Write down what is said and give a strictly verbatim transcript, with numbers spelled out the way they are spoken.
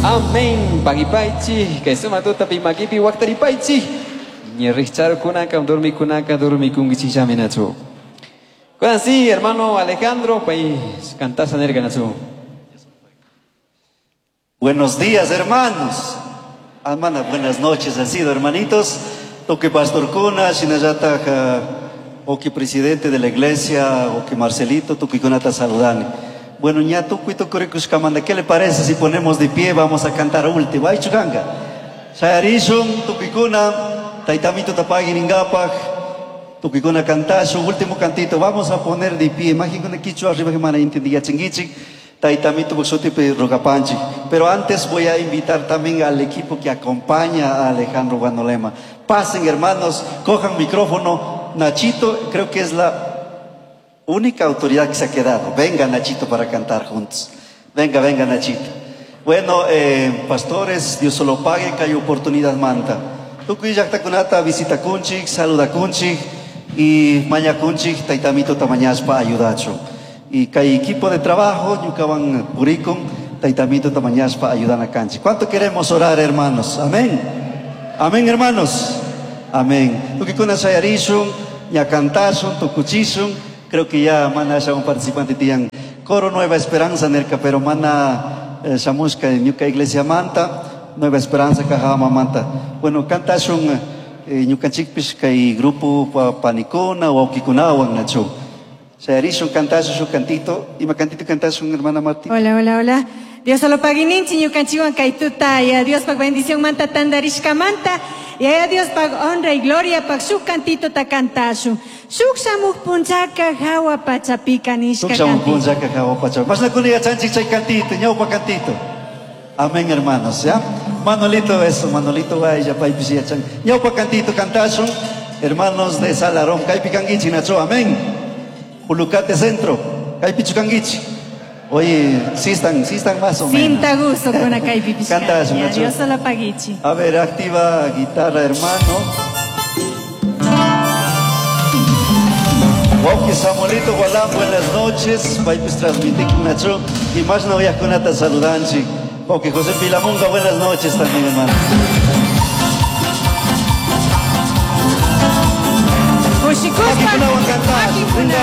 Amén. Pagipaichi, kay sumatuta pimakipi waqtaripaychi. Ñirriqcharukunaka, durmikunaka, durmikunkichikllami nachu. Kunan sí, hermano Alejandro, pay cantasa nerka nachu. Buenos días, hermanos. Hermana, buenas noches, han sido, hermanitos. Toque pastor Kuna, shinallata, oki presidente de la iglesia, oki Marcelito, tuki kunata saludani. Bueno, ña tukuy tukurikushkamanta, ¿qué le parece si ponemos de pie? Vamos a cantar último. Ay, chukanga. Shayarishun, tukikuna, taitamito tapagui ringapaj, tukikuna cantashu, último cantito. Vamos a poner de pie. Imagínate kichwa arriba que mana intendía chinguichi. Taitamito buxutipi rogapanchi. Pero antes voy a invitar también al equipo que acompaña a Alejandro Guanolema. Pasen, hermanos, cojan micrófono. Nachito, creo que es la única autoridad que se ha quedado. Venga, Nachito, para cantar juntos. Venga, venga, Nachito. Bueno, eh, pastores, Dios solo pague, que hay oportunidad manta. Tukuy llaqtakunata visita kunchik, saluda kunchik y maña kunchik, taitamito tamañaspa ayudacho. Y kay equipo de trabajo, ñukawan purikun, taitamito tamañaspa ayudan a kanchik. ¿Cuánto queremos orar, hermanos? Amén. Amén, hermanos. Amén. Tukikuna shayarishun, ña cantashun, tukuchishun. Creo que ya mana un participante tiyan coro Nueva Esperanza nerka, pero mana eh, shamushka ñuka iglesia manta, Nueva Esperanza kajama manta. Bueno, cantashun eh, ñukanchikpish kay grupo pa panikuna wawkikunawan nachu. Shayarishun cantashun su cantito. Ima cantito cantashun, hermana Martín. Hola, hola, hola. Dios solo pagininchi ñukanchiwan kay tuta ya Dios pag bendición manta tandarishka manta ya Dios pag honra y gloria pag shuk cantito ta cantashun. Shuk shamuj punchaka hawa pachapika nishka Shuk shamuj cantito. punchaka hawa pachapi. Masna kuna yachanchik chay cantito, ñawpa cantito. Amén, hermanos, ¿ya? Manolito, eso, Manolito vaya, paypis yachan. Ñawpa cantito cantashun, hermanos de Salarón, kaypi kankichik nacho, amén. Pulucate Centro, kaypichu kankichik. Oye, sí están, sí están más o menos. Sinta gusto con acá y pipishka. Cantashun, Ya, nacho. Dios solo pagichi. A ver, activa guitarra, hermano. Wauki Samuelito Gualán, buenas noches. Paypis transmitik nacho. Y más no kunata saludanchi. Wauki José Pilamunga, buenas noches también, hermano. Kushikushpa. Makikunawan cantar. Makikunawan. Venga,